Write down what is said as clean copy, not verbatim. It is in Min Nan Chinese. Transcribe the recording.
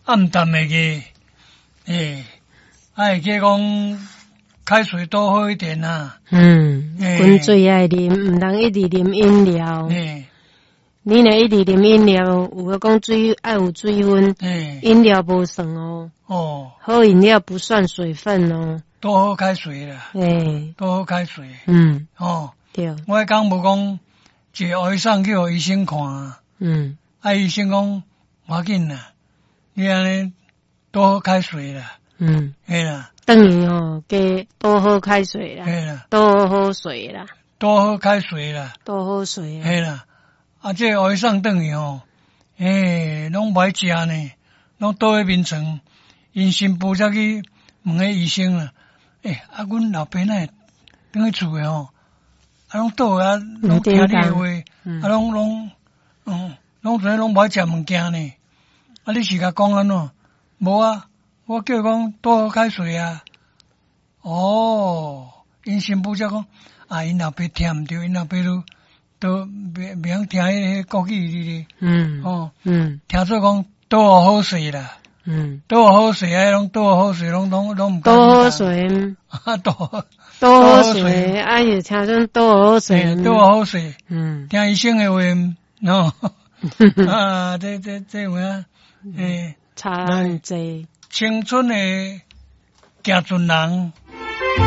暗淡會記，欸，啊會記講開水多喝一點啊。滾水愛啉，毋通一直啉飲料。你若一直啉飲料，有的講水愛有水分，飲料無算哦。喝飲料不算水分哦。多喝開水啦。多喝開水。對。我彼工無講，一個醫生去予醫生看。啊，醫生講無要緊啦，你按呢多喝開水啦。嘿啦。轉去吼，加多喝開水啦。嘿啦。多喝水啦。多喝開水啦。多喝水。嘿啦。啊，這個醫生轉去吼，欸，攏無愛食呢，攏倒佇眠床。𪜶新婦才去問彼醫生啦，欸，啊，阮老爸哪會轉去厝的吼，啊，攏倒啊，攏聽你的話，啊，攏攏，攏做攏無愛食物件呢。啊，你是共講按怎？無啊，我叫伊講多喝開水啊。哦，𪜶新婦才講，啊，𪜶老爸聽毋著，𪜶老爸都袂曉聽彼个國語哩。聽做講多好勢啦。多好勢啊，攏多好勢，攏攏攏毋多喝水。多多喝水，啊，伊聽陣多喝水。多好勢。聽醫生的話，喏。啊，這這這有影，欸，差很濟。青春的行船人。